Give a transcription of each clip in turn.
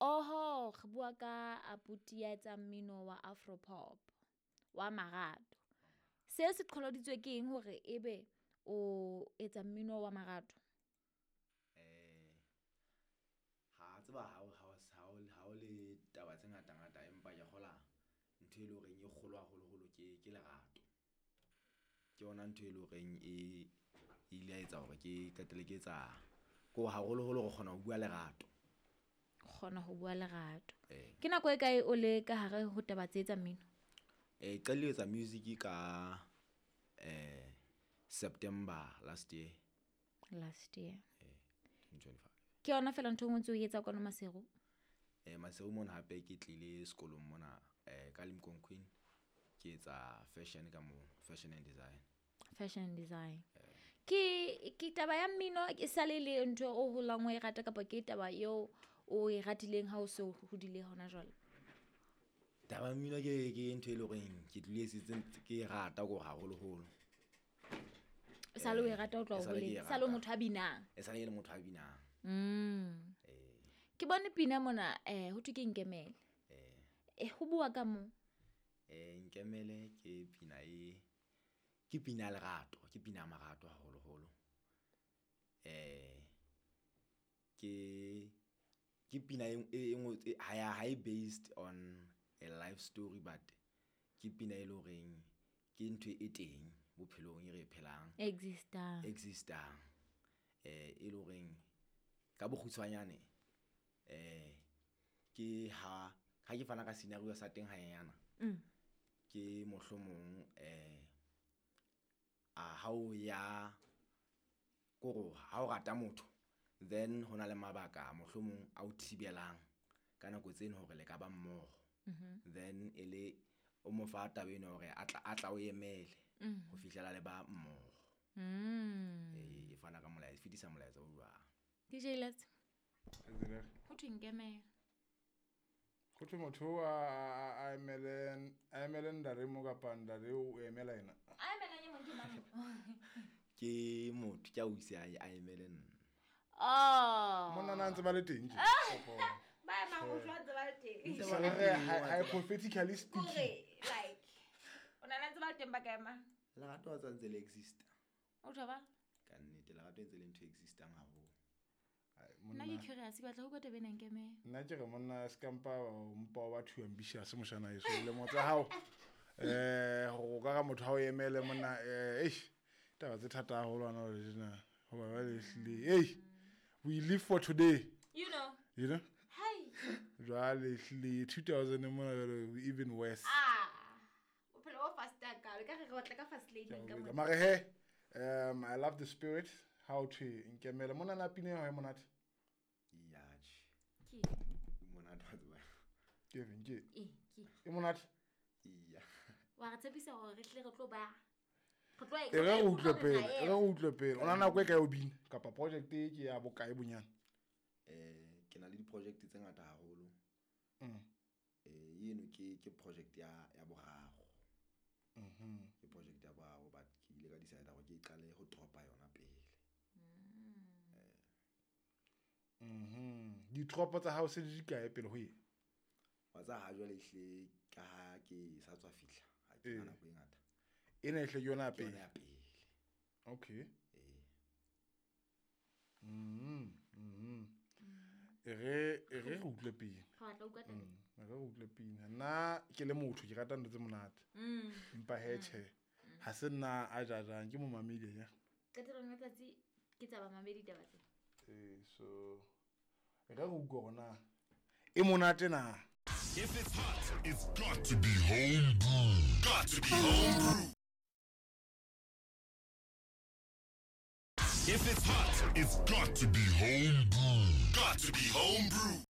Oho, re bua ka abuti ya etsang mmino wa afropop wa marato. Se se qholoditswe ke eng hore ebe o etsa mmino wa marato? Ha tseba ha o le taba tse ngata ngata, empa ke kgola ntho e leng horeng e kgolo haholoholo ke lerato. Ke yona ntho e leng horeng e ile ya etsa hore ke qetelle ke etsa ko haholoholo re kgona ho bua lerato. Kgona ho bua lerato. Eh. Ke nako e kae o le ka hare ho taba tse tsa mmino? Qadile ho etsa music ka September last year. Last year. 2025. Ke yona fela ntho e nngwe ntse o e etsa kwano Maseru? Maseru mona hape ke tlile sekolong mona ka Limkokwing, ke etsa fashion ka mo, fashion and design. Fashion and design. Ke taba ya mmino e sale le ntho o holang o e rata, kapa ke taba eo o e ratileng ha o se o hodile hona jwale? Taba ya mmino ke ntho e leng horeng ke tlile setse ke e rata ko haholoholo. E sale o e rata o tloha E sale ke e holeng, sale o rata. motho a binang. E sale ke le motho a binang. Ke bone pina mona, ho thwe ke Nkemele. Ho bua ka mo? Nkemele ke pina e ke pina ya lerato, ke pina ya marato haholoholo. Ke pina e ngotswe ha e based on a life story, but ke pina e leng horeng ke ntho e teng bophelong e re e phelang. Existang. Existang, e leng horeng ka bokgutshwanyane ke ha ke fana ka scenario sa teng hanyenyana. Ke mohlomong a ha o ya kore ha o rata motho, then hona le mabaka mohlomong a o thibelang ka nako tseno hore le ka ba mmoho. Then e le o mo fa taba eno hore a tla o emele ho fihlela le ba mmoho. E fana ka molaetsa, e fetisa molaetsa o jwang. DJ Let's. Ho thwe Nkemele. Go thwe motho a emele ndare mo kapa ndare o emela ena? A emelang e mong ke mang? Ke motho ke a o ise a emele nna. Oh. Monna na ntse ba le teng tje? Kapa- Ba emang ho jwa ntse ba le teng. Sa re hypothetically speaking. Kore like o nana ntse ba le teng ba ka ema. Lerato a tsantse le exista. O tjho ba? Ka nnete lerato e ntse le ntho e existang haholo. Ai, Nna monna. ke curious, ke batla ho utlwa taba ena Nkemele. Nna ke re monna se kampa mpa wa too ambitious moshana eso lemo tsa hao go ka ga motho ha o emele monna, eish, taba tse thata haholo hana jwale tjena hoba jwale ehlile, ei, we live for today. You know. You know. Hai. Jwale ehlile 2000 mona jwale we even worse. Ah. Bophelo bo fast ka le ka re re batla ka fast lane ka mona. Mare he, I love the spirit how thwe Nkemele mona na pina ya hao e monate. Ya tjhe. Ke. Monate wa tseba. Ke feng ke? Eh, ke. E monate. Iya. Wa re tshepisa hore re tle re tlo ba. Re tlo E re re utlwe pele, e re re utlwe pele o na nako e kae o bina kapa project e ke ya bokae bonyane? Ke na le di-project tse ngata haholo. Eno ke project ya boraro. Ke project ya boraro, but ke ile ka decide hore ke qale ho dropa yona pele. Ditropo tsa hao se di dikae pele ho e? Wa tsa ha jwale ehlile ka ha ke sa tswa fihla, ha ke na nako e ngata. Ena ehle ke yona ya Ke yona pele? Ya pele. Okay. Ee. E re re utlwe pina. Re batla ho utlwa taba. E re re utlwe pina. Nna ke le motho ke rata ntho tse monate, empa he tjhe, ha se nna a jajang, ke momamedi ya. Qetellong ya letsatsi ke tsa bamamedi taba tse. Ee, so e re re utlwe hore na e monate na. If it's hot, it's got to be homebrew. Got to be homebrew. If it's hot, it's got to be homebrew. Got to be homebrew.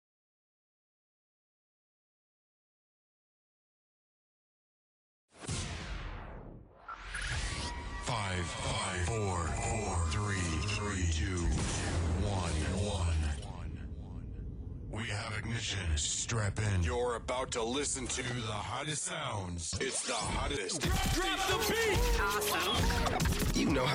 Five, five, four, four, three, three, two, one, one. We have ignition. Strap in. You're about to listen to the hottest sounds. It's the hottest. Drop the beat! You know how